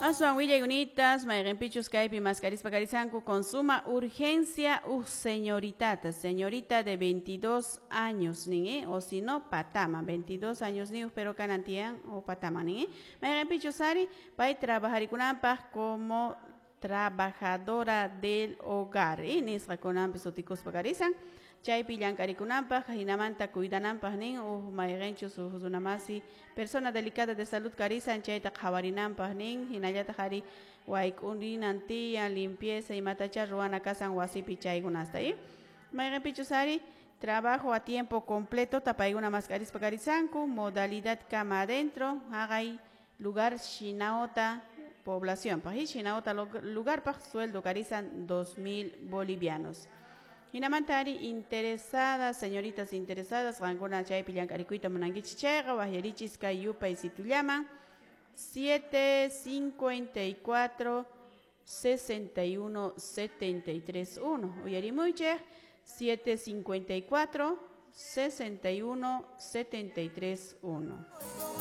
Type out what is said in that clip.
Aswan willayunitas mayqinpichus kaypi maskarispa karisanku con suma urgencia uj señoritata, señorita de 22 años nin, o si no patama, 22 años niyuq pero kanan tiyan o patama nin, mayqinpichus ari pay trabajarikunanpaq como trabajadora del hogar, nisqakunanpi sutikuspa karisan chaypi llank'arikunanpaq hinamanta cuidananpaq nin uj mayqinchus uj runamasi persona delicada de salud karisan chayta qhawarinanpaq nin hinallataq ari wayk'urinan tiyan limpieza imatacha ruwana kasan wasipi chaykunasta, mayqinpichus ari trabajo a tiempo completo paykuna mask'arispa karisanku modalidad cama adentro haqay lugar Shinaota población paq, Shinaota lugarpaq sueldo karisan 2000 bolivianos. Hinamanta ari interesadas, señoritas interesadas, qankuna chaypi llank'arikuyta munankichis chayqa waqyarichis kay yupay situllaman 754 61 73 1. Uyarimuychik 754 61 73 1.